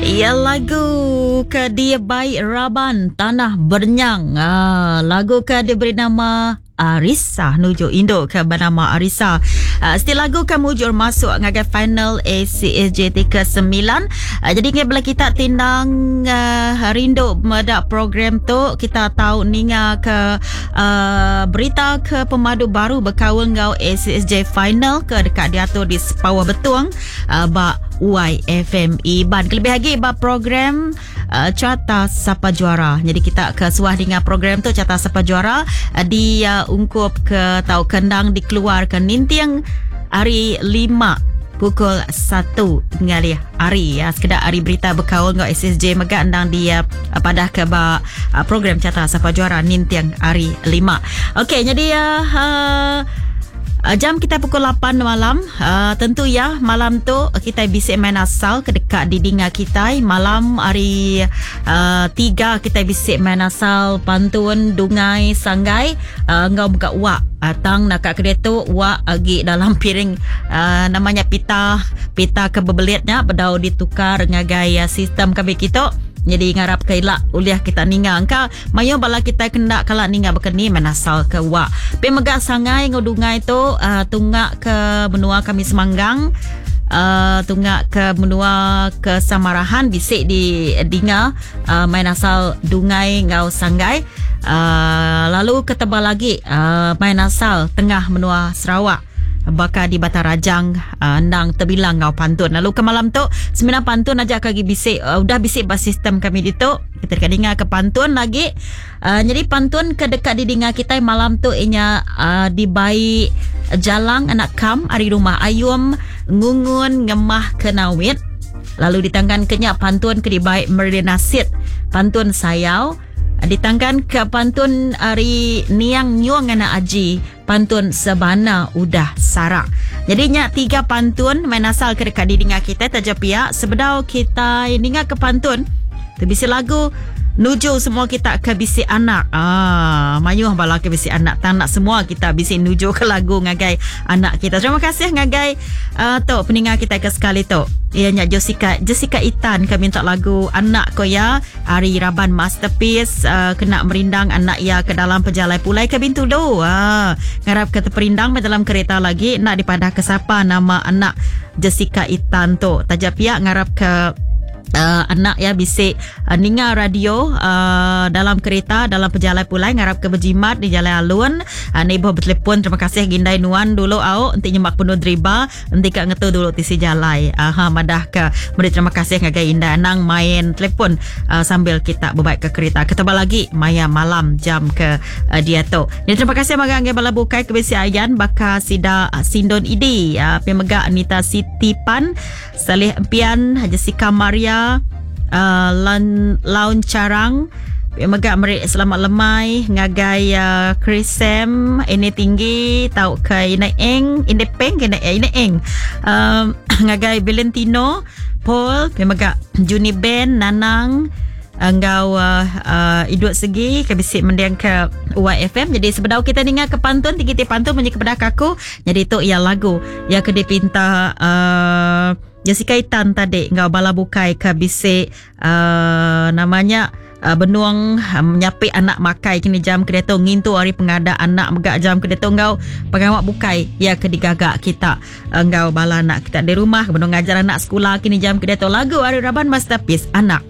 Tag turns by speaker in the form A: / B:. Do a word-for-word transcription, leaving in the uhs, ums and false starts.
A: Ya lagu ke dia baik Raban Tanah Bernyang. Ah, lagu ke diberi nama Arisa nuju induk ke bernama Arisa. Uh, setiap lagu ke mujur masuk ngagai final A C S J T ke sembilan. Uh, jadi ngai bela kita tindang uh, rindu medak program tu, kita tahu ninga ke uh, berita ke pemadu baru berkaul ngau A C S J final ke dekat diatur di Sepawah Betung uh, ba Y F M Iban. Kelebih lagi ba program uh, Carta Sapa Juara. Jadi kita ke suah dengan program tu Carta Sapa Juara uh, di uh, ungkup ke tau kendang dikeluarkan nintiang hari lima pukul satu ngalih hari ya. Sekedar hari berita berkaul ngau S S J megak endang dia uh, padah ke ba uh, program Carta Sapa Juara nintiang hari lima. Okey, jadi uh, uh, jam kita pukul lapan malam. Uh, tentu ya malam tu kita bisik main asal ke dekat di dinga kita. Malam hari uh, tiga kita bisik main asal pantun dungai sanggai uh, ngau buka wak. Uh, tang nak kat kedai tu wak agi dalam piring uh, namanya pita pita kebebelitnya bedau ditukar ngagai uh, sistem kami kita. Jadi ngarap ke ilak uliah kita ninga angka mayo bala kita kena kala ninga bekeni menasal ke wak. Pe megak sangai ngodungai tu uh, tunggak ke benua kami Semanggang, uh, tunggak ke benua ke Samarahan bisik di dinga uh, main asal dungai ngau sanggai. Uh, lalu ke tebal lagi uh, main asal tengah benua Sarawak. Bakal di Batarajang uh, endang terbilang ngau pantun. Lalu ke malam tu sembilan pantun aja kaki bisik uh, udah bisik bas sistem kami ditu. Kita dekat dengar ke pantun lagi. Uh, jadi pantun ke dekat didengar kita malam tu inya uh, dibai jalang anak kam ari rumah ayum ngungun ngemah kenawit. Lalu ditangkan kenyak pantun ke dibai Merlina Sid pantun sayau. Ditangkan ke pantun ari Niang Nyuang anak Aji pantun sebana udah sarak. Jadi nyak tiga pantun main asal ke dekat didengar kita taja pihak sebedau kita dengar ke pantun terbisi lagu nuju semua kita ke bisi anak. Ah, mayuh bala ke bisi anak. Tak nak semua kita bisi nuju ke lagu ngagai anak kita. Terima kasih ngagai uh, tu pendengar kita ke sekali tu. Ia nyak Jessica Jessica Itan ke minta lagu anak ko ya Ari Raban Masterpiece uh, kena merindang anak ia ke dalam pejalai pulai ke Bintulu. Ah, ngarap ke terperindang dalam kereta lagi nak dipadah ke siapa nama anak Jessica Itan tu. Taja pihak ngarap ke Uh, anak ya bisik uh, ninga radio uh, dalam kereta dalam perjalanan pulai ngarap ke berjimat di jalan alun uh, ni boh bertelefon. Terima kasih gindai nuan dulu au enti nyemak penuh driba enti ka ngetu dulu tisi jalai aha uh, madah ke beri terima kasih ngagai indah nang main telefon uh, sambil kita berbaik ke kereta ketebal lagi maya malam jam ke uh, dia tu. Jadi terima kasih magang ngai bala bukai ke bisi ayan baka sida uh, Sindon Idi uh, pemega Anita Siti Pan Saleh Empian Jessica Maria Uh, Lan, Laun Carang megak merik selamat lemai ngagai uh, Chris Sam ini tinggi tau ke ina eng ini peng kena ina eng um, ngagai Valentino Paul megak Juni Ben Nanang enggau uh, uh, idut segi ke bisik mendiang ke Y F M. Jadi sebedau kita dengar ke pantun tinggi ti pantun bunyi kepada aku. Jadi tu ia lagu yang ke dipinta uh, Jessica Itan tadi enggau bala bukai ke bisik uh, namanya uh, benuang uh, menyapi anak makai kini jam kereta ngintu hari pengada anak megak jam kereta enggau pengawak bukai ya ke digagak kita enggau bala anak kita di rumah benuang ngajar anak sekolah kini jam kereta lagu hari Raban Masterpiece anak.